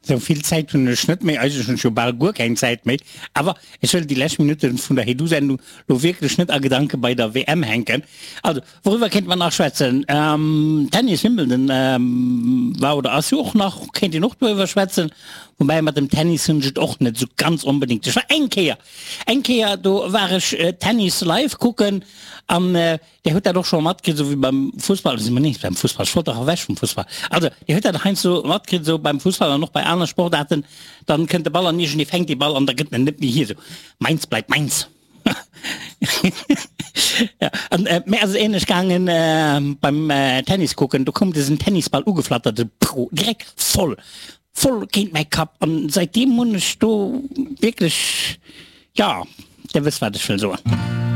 Sou vill Zäit hunn ech net méi, eigentlech hunn ech jo bal guer keng Zäit méi, awer ech wëll déi lescht Minutte vun der Hey-Du-Sendung lo wierklech net a Gedanke bei der WM hänken. Also, wouriwwer kéinte mer nach schwätzen? Tennis, Wimbledon war oder ass jo och nach, kéint een och doriwwer schwätzen. Woubäi mat dem Tennis hunn ech et och net sou ganz onbedéngt. Ech war eng Kéier, eng Kéier do war ech Tennis live kucken an Dir hutt dat och scho matkritt, esou wéi beim Fussball, si mer nees beim Fussball, ech wollt dach ewech vum Fussball. Also, Dir hutt dat heiansdo matkritt, esou beim Fussball an och bei aner Sportaarten, dann kënnt de Ball an iergendee fänkt dee Ball an da gëtt en net méi hier, esou meins bleibt meins. Ja, an mir ass et ähnlech gaangen beim Tennis kucken, do koum dësen Tennisball ugeflattert, esou prou, direkt voll, voll géint mäi Kapp an säitdeem hunn ech do wierklech, jo, Dir wësst wat ech wëll soen.